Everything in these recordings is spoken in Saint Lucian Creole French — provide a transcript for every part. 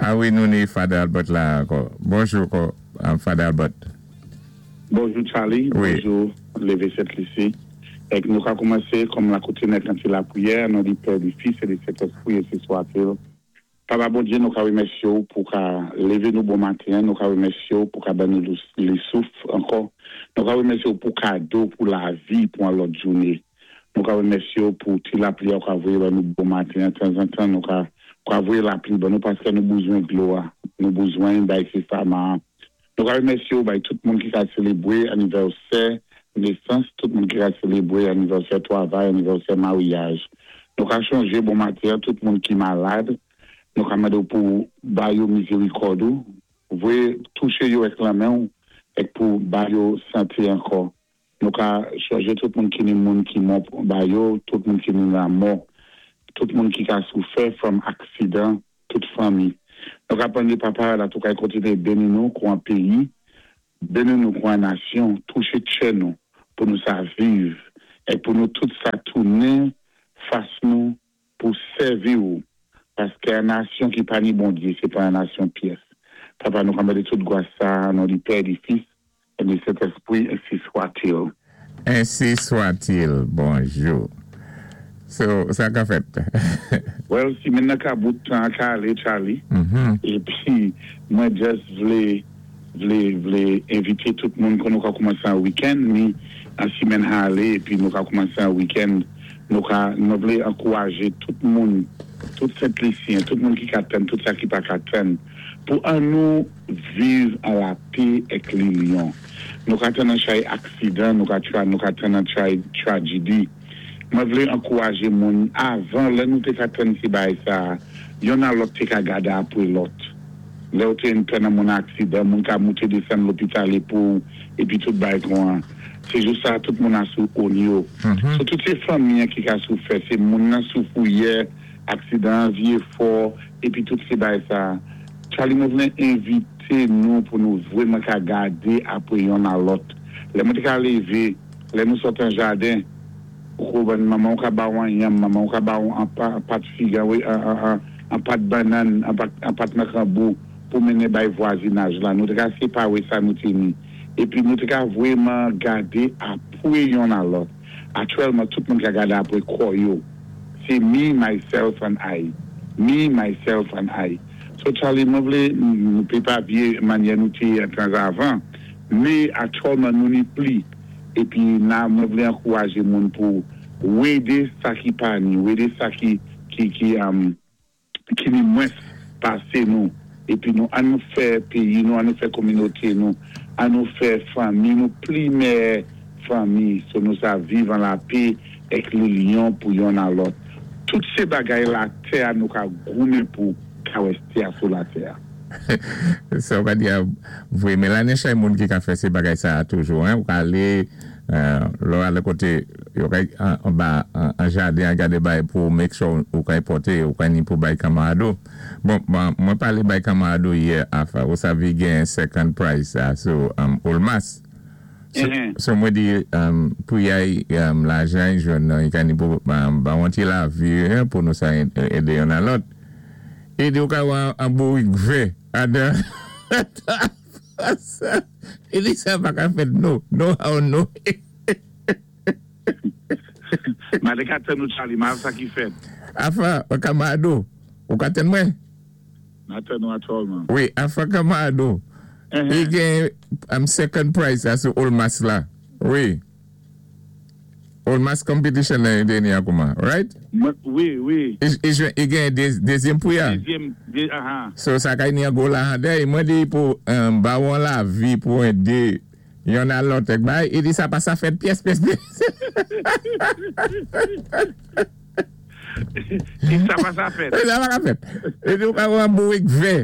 A wi nou ni Father Albert la ankò. Bonjou Father Albert. Bonjou Charly, bonjou Leve Sent Lisi. Èk nou ka koumanse kòm la koutim èk an ti lapriyè, an non di Pè, di Fis e di Sentespri ensi swatil. Papa Bondye nou ka remèsye w pou ka leve nou bon maten an, nou ka remèsye w pou ka ban nou li souf ankò, nou ka remèsye w pou kado pou lavi pou an lòt joune, nou ka remèsye w pou ti lapli a ou ka voye ban nou bon maten an, tanzantan nou ka ou ka voye lapli ban nou paske nou bouzwen dlo a, nou bouzwen bay se fama a. Nou ka remèsye w bay tout moun ki ka selebre anivèsè nesans, tout moun ki ka selebre anivèsè twavay, anivèsè maryaj. Nou ka chonje bon maten an tout moun ki malad, nou ka mande w pou w ba yo mizerikòd ou, voye touche yo èk lanmen w èk pou w ba yo sante ankò. Nou ka chonje tout moun ki ni moun ki mò ba yo, tout moun ki ni lamò, tout moun ki ka soufè from aksidan, tout fanmi. Nou ka pande Papa la tou kay kontinye beni nou kou an peyi, beni nou kou an nasyon, touche tchè nou pou nou sa viv èk pou nou tout sa tounen fas nou pou sèvi ou paske an nasyon ki pa ni Bondye se pa an nasyon pyès. Papa nou ka mande tout gwas sa a nan non di Pè, di Fis e di Sentespri ensi swatil. Ensi swatil bonjou so sa ka fèt. Well simenn nan ka bout tan an ka ale Charly epi mwen just vle vle vle envite tout moun kon nou ka koumanse an weekend ni an simenn ha ale epi nou ka koumanse an weekend nou ka mwen vle ankouraje tout moun tout sentlisyen tout moun ki ka tann tout sa ki pa ka tann pou an nou viv an lapé èk linyon nou ka tann an chay aksidan nou ka tra nou ka tann an chay trajidi mwen vle ankouraje moun avan lè nou te ka tann ti bagay sa yonn a lòt te ka gade apre lòt. Lèw te yn nan moun aksidan moun ka moute desann lopital epouw epi tout bay kon an se jou sa tout moun a sou own yo so tout se fanmi an ki ka sou fè se moun nan sou fouyè aksidan an vye fò epi tout se bay sa Charly mwen vle envite nou pou nou vreman ka gade apre yonn a lòt lè mwen te ka leve lè nou sot an jaden ou konprann manmanw ka baw an yanm manmanw ka baw an pat fig an an pat bannann, an pat nan kanbou pou mennen bay vwazinaj la. Nou te ka separe sa nou te ni. Epi nou te ka vweman gade apwe yonn a lòt. Aktyèlman tout moun ka gade apwe kò yo. Se me, myself and I. Me, myself and I. So Charly, mwen vle nou pe pa vye manyè nou te ye tanzavan, me aktyèlman nou ni pli. Epi na mwen vle ankouraje moun pou wede sa ki pa ni, wede sa ki ki ki ki ni mwens pase nou epi nou an nou fè peyi nou an nou fè kominote nou an nou fè fanmi nou pli mèyè fanmi so nou sa viv an lape èk lilyon pou yonn a lòt tout se bagay latè a nou ka goumen pou ka wè tè a sou latè a. Sa ou ka di a vre men la nen chay moun ki ka fè se bagay sa a toujou hein ou ka ale lè w ale kote yo kay anba an jaden an gade bay pou make sure ou kay pote ou kay ni pou bay kanmarad ou bon mwen pale bay kanmarad ou yè afa ou sa vi gen second prize sa sou Olmas so mwen di pou yay lajan y jwenn nan y ka ni pou ba w yon ti lavi pou nou sa ede yonn a lòt e di ou ka wè an bourik vè adan E li sa pa ka fèt no, no how no. Made ka tann ou Charly, ma sa ki fèt. Afa kamado, ou ka tann mwen? Ma tann ou atòlman. Wi, afa kamado, li gen am second prize la sou Olmas la, wi. Olmas competition nan yon deni a kouman, right? Wi, wi. E gen dezyèm pri a. Dezyèm, aha. So sa kay ni an gwo la handè, e mwen di pou ba ou an lavi pou ede yon a lòt ek bay, e di sa pa sa fèt pyès pyès pyès. E sa pa sa fèt. E sa pa ka fèt. E di ou ka wè an bourik vè,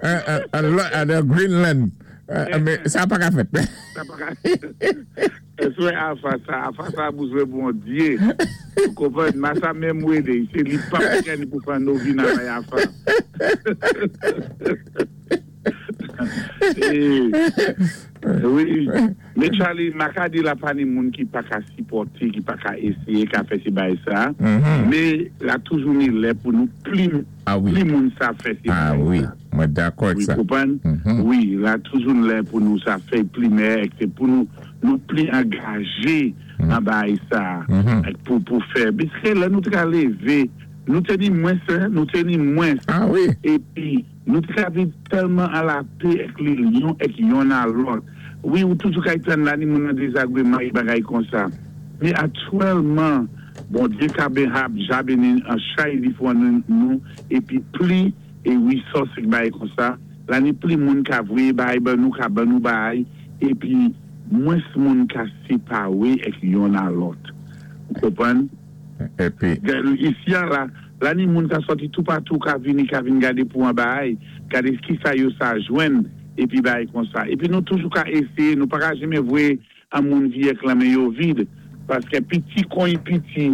an Greenland, men sa pa ka fèt. Sa pa ka fèt. Eswe afa sa afa sa bouzwe bondye ou konprann masa menm wede se li pap gen pou pran novina bay afa wi men Charly maka di la pa ni moun ki paka sipòte ki paka eseye ka fè se bagay sa men la toujou ni lè pou nou pli pli moun sa fè se bagay sa. Mwen dakò ak Wi sa. konprann? Wi, la toujou n lè pou nou sa fè plimè ek se pou nou nou pli angaje nan baay sa ek pou pou fè piske lè nou te ka leve nou te ni mwens hein nou te ni mwens Ah wi. epi nou te ka viv tèlman an lapè ek lilyon ek yonn a lòt wi ou toujou kay tann la ni moun nan dezagreman e bagay konsa men aktyèlman Bondye ka ben hab ja beni an chay li fwan nou epi pli E wi sòs k bay konsa la ni pli moun ka voye bay ban nou ka ban nou bay epi mwens moun ka separe ek yonn a lòt ou konprann Epi. Isi an la la ni moun ka sòti toupatou ka vini ka vin gade pou an bay gade kisa yo sa jwenn epi bay konsa epi nou toujou ka eseye nou paka janmen voye An moun viyèk lan men yo vid paskè piti kon y piti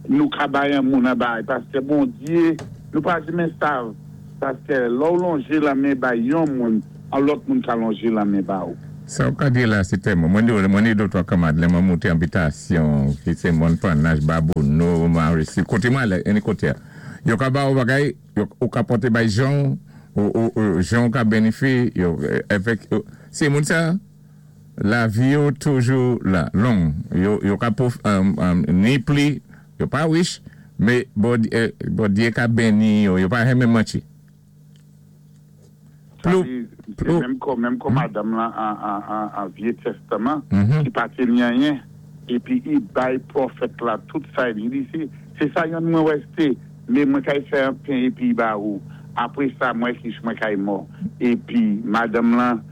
nou ka bay an moun an bay paskè Bondye nou pa jmen sav paskè lè w lonje lanmen bay yon moun an lòt moun ka lonje lanmen ba ou. Sa w ka di la se tèlman mwen di w mwen ni dotwa kanmad lè mwen moute anbitasyon ki se mòn pannach babouno marisi kote mwen ale any kote a yo ka ba ou bagay yo ou ka pote bay jan w ou jan w ka benifi yo evèk se moun sa. Lavi yo toujou la long yo yo ka pof ni pli yo pa rich me Bondye ka beni yo yo pa renmen manti Sa di se menm kò menm kò madanm lan an vye tèstaman ki pa te ni anyen epi i bay pwofèt la tout sa li di se se sa yonn mwen wè se me mwen kay fè an pen epi i ba ou apre sa mwen kich mwen kay mò epi madanm lan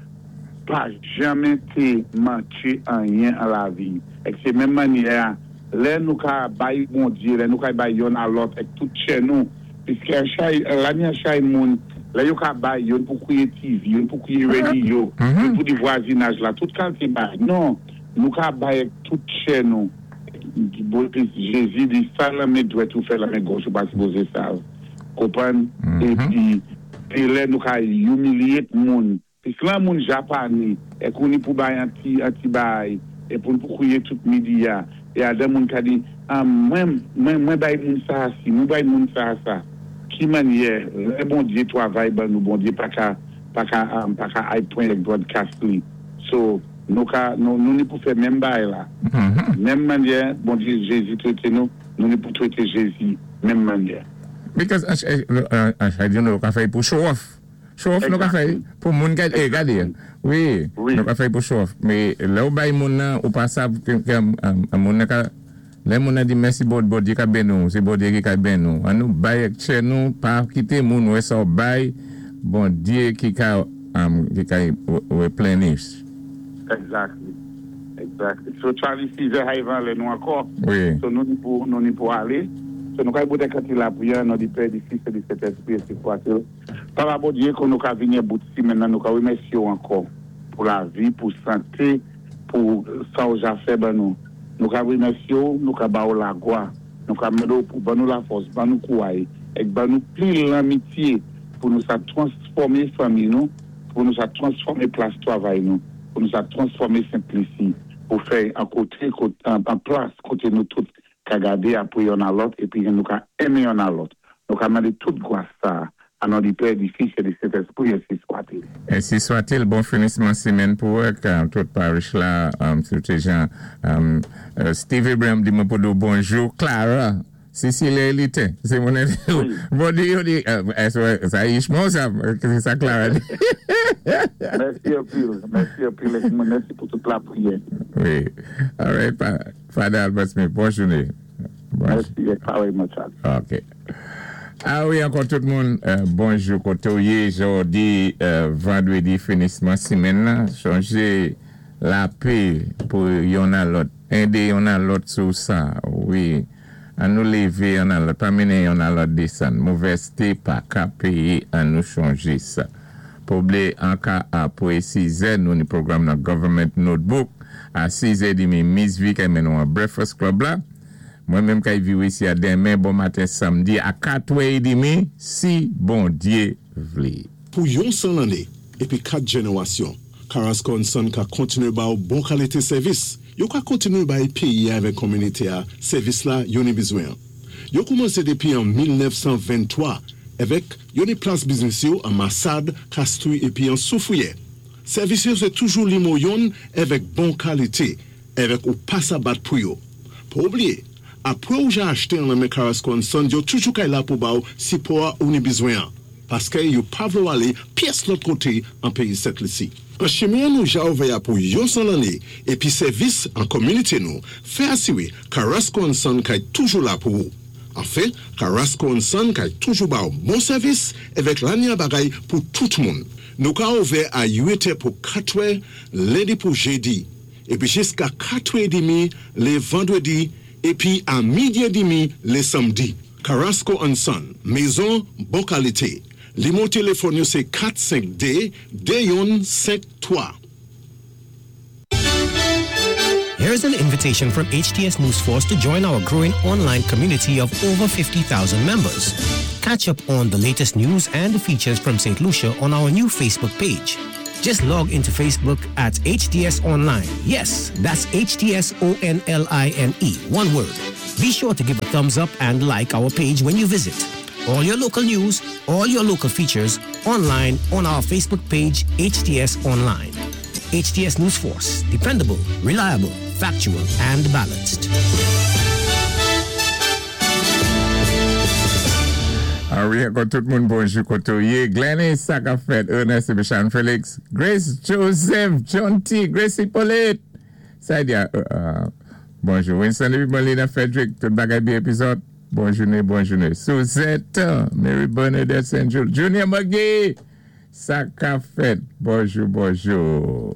pa janmen te manke anyen an lavi. Èk se menm mannyè a, lè nou ka bay Bondye, lè nou ka bay yonn a lòt èk tout chè nou, piske an chay, lani an chay moun, lè yo ka bay, yonn pou kwiye TV, yonn pou kwiye rediyo, yonn pou di vwazinaj la, tout kalte bay. Non, nou ka bay èk tout chè nou. Epi Jezi di, sa lanmen dwèt ou fè, lanmen gòch ou pa sipoze sav. Konprann? Epi, se lè nou ka humiliate moun. Pis lan moun japani e kouni pou bay an ti an ti bay e poun pou kouye tout midi ya e adan moun ka di an mwen mwen mwen bay moun sa a si mwen bay moun sa a sa ki manyè lè Bondye twavay ban nou Bondye paka paka paka ay pwen ek broadcast li so nou ka nou nou ni pou fè menm bay la menm manyè Bondye Jezi trete nou nou ni pou trete Jezi menm manyè. Because an nou ka fè pou show off. Show off nou ka fè pou moun gade eh gade wi nou ka fè pou show off men lèw bay moun nan ou pa sav ke moun nan ka lè moun nan di mèsi Bondye ka beni w se Bondye ki ka beni w an nou bay ak tchè nou pa kite moun wè sa w bay Bondye ki ka ki ka replenish. Exactly exactly so Charly 6 è hay van lè nou ankò so nou ni pou nou ni pou ale so nou kay boutè kanti lapriyè an non di pè di fis e di sentespri ensi swatil. Papa Bondye kon nou ka vini a bout simenn nan nou ka remèsye w ankò pou lavi pou sante pou sa w ja fè ban nou nou ka remèsye w nou ka ba w lagwa nou ka mande w pou ban nou lafòs ban nou kouray èk ban nou pli lanmitye pou nou sa transfòme fanmi nou pou nou sa transfòme plas twavay nou pou nou sa transfòme Sent Lisi pou fè an kote an plas kote nou tout ka gade apre yonn a lòt epi nou ka enmen yonn a lòt. Nou ka mande tout gwas sa a a non di Pè, di Fis e di Sentespri, ensi swatil. Ensi swatil, bon finisman simenn pou ou ak tout parish la, sitou jan Steve Abraham di mwen pou di w bonjou, Clara, Cecilia Elite, se moun nan di w bon di yo di, sa ichman w sa, se sa Clara di. Mèsi anpil, mèsi anpil ak mèsi pou tout lapriyè. Wi, alright. Father Albert Smith, bon joune. Mèsi e parèyman Charly. Ok. A wi ankò tout moun, bonjou kote w ye jodi vandredi finisman simenn lan, sonje lape pou yonn a lòt, ede yonn a lòt sou sa wi, an nou leve yonn a lòt, pa mennen yonn a lòt desann, movèzte pa ka peye an nou chonje sa. Pwoble anka apwe sizè nou ni pwogram nan Government Notebook a sizè demi Miss V kay men nou an Breakfast Club la. Mwen menm kay viw isi a denmen bon maten samdi a katwè edemi si Bondye vle. Pou yon 100 lanné épi 4 jènérasyon, Carrasco and Son ka kontinué ba ou bon kalité sèvis. Yo ka kontinué bay péyi a avèk konminité a sèvis la yo ni bizwen an. Yo koumansé dépi an 1923. Èvèk yo ni plas biznis yo an Masad, Kastri épi an Soufriyè. Sèvis yo sé toujou limo yonn èvèk bon kalité, èvèk ou pa sa bat pou yo. Pa oubliyé, apwé ou ja achté an lan men Carrasco and Sons yo toujou kay la pou ba-w sipò-a ou ni bizwen-an, paskè yo pa vlé-w alé pyès lòt koté an péyi Sent Lisi. An chimen-an nou ja ouvè-a pou yon 100 lanné épi sèvis an kominité nou fè asiré Carrasco and Son kay toujou la pou ou. Anfen, Carrasco and Son kay toujou ba-w bon sèvis èvèk lanya bagay pou tout moun. Nou ka ouvè a 8 è pou 4 è lendi pou jedi, épi jiska 4 è édmi lé vandwédi épi a midi édmi lé sanmdi. Carrasco and Son, mezon bon kalité. Limo téléfòn yo sé 4 5 2 2 yonn 5 3. Here's an invitation from HTS News Force to join our growing online community of over 50,000 members. Catch up on the latest news and features from St. Lucia on our new Facebook page. Just log into Facebook at HTS Online. Yes, that's HTS O N L I N E, one word. Be sure to give a thumbs up and like our page when you visit. All your local news, all your local features online on our Facebook page, HTS Online. HTS News Force, dependable, reliable, factual, and balanced. Ah wi, ankò tout moun bonjou koté ou yé. Glenny, sa k-ap fèt? Ernest épi Sharon Felix, Grace Joseph, John T, Grace Hippolyte. Sa di bonjou Winston épi Molina Frederick, tout bagay byen épi zòt. Bon jouné, bon jouné. Suzette, Mary Bernadette Saint Jules, Junior McGee, sa k-ap fèt? Bonjou, bonjou.